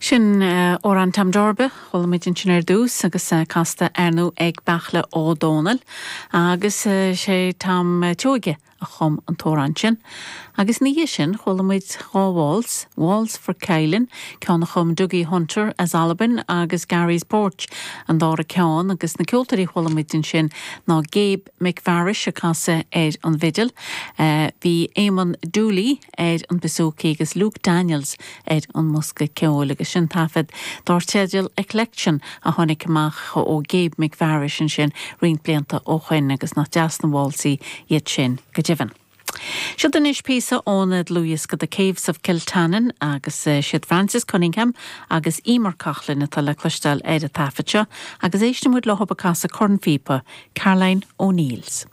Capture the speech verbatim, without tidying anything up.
Sin Amhrán Tom Darba chuala muid ansin ar dtús agus casta ar ndóigh ag Beartla Ó Domhnaill agus sé Tom Tuige a chum an t-amhrán sin. Agus ina dhiaidh sin chuala muid dhá waltz, Waltz for Kylin, ceann a chum Dougie Hunter as Albain agus Gary's Porch an dara ceann agus na ceoltóirí chuala muid ansin ná Gabe McVarish ag casadh ar an bhfidil, bhí Eamon Dooley ar an bouzouki agus Luke Daniels ar an mbosca ceoil agus sin taifead dar teideal Eclection a tháinig amach ó Gabe McVarish ansin roinnt blianta ó shin agus nach deas na válsaí iad sin go deimhin. Siod anois píosa ón dlúthdhiosca The Caves of Kiltannon agus siad Francis Cunningham agus Emer Coughlan atá le cloisteáil ar an taifead seo agus éisteann muid leo ag casadh cornphíopa Caroline O'Neills.